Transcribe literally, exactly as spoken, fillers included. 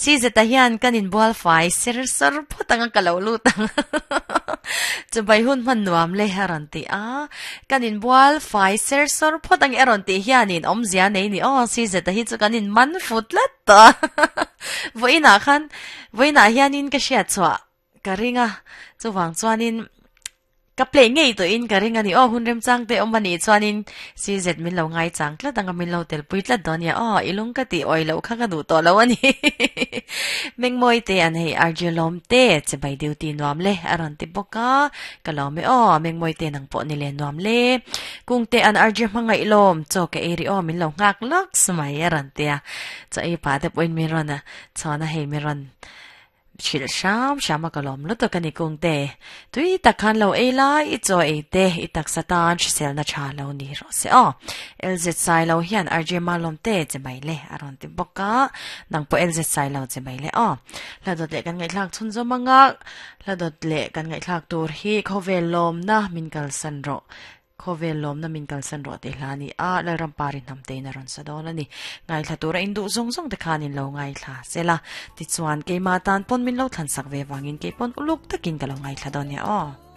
Si zeta hian kan in bual fai ser sawr phawt anga ka lo lut ang. Chu bai hun hman nuam le a rawn ti a. Kan in bual fai ser sawr phawt ang a rawn tih hianin awmzia nei ni aw si zeta hi chu kan in man fu tlat tawh a. Vawiinah khan vawiinah hianin ka hriat chhuah ka ring a, chuvang chuanin Ka play ngei tawhin ka ring a ni aw, hun remchang te awm a nih chuanin C Z min lo ngai chang tlat ang a, min lo telpui tlat dawn nia aw, i lung ka tih awih loh kha ka duh tawh lo a ni. Mengmawi te an hei R J lawm te che bai duty nuam le a rawn ti bawk a, ka lawm e aw, Mengmawi te nang pawh ni le nuam le. Kung te an R J hmangaih lawm, chaw ka ei rih aw min lo nghak lawk mai a rawn ti a, chaw ei pah te pawhin min rawn a chhawn a hei min rawn Hrilh hram hram a ka lawm lutuk a ni Kungte. Tui tak khan lo ei lai, i chaw ei te, i taksa tan hriselna tha lo ni rawh se aw. L Z Sai lo hian R J Malawm te che mai le a rawn ti bawk a, nang pawh L Z Sai lo che mai le aw. Hla dawt leh kan ngaihthlak chhun zawm anga, hla dawt leh kan ngaihthlak tur hi khawvel lawmna min kalsan rawh. Khawvel lawmna min kalsan rawh tih hla a ni a, Lalrampari hnam tein a rawn sa dawn a ni. Ngaithla tura induh zawng zawng te khan in lo ngaithla sela. Tichuan, keimah tan pawn min lo thlansak ve vangin kei pawn uluk takin ka lo ngaithla dawn nia aw.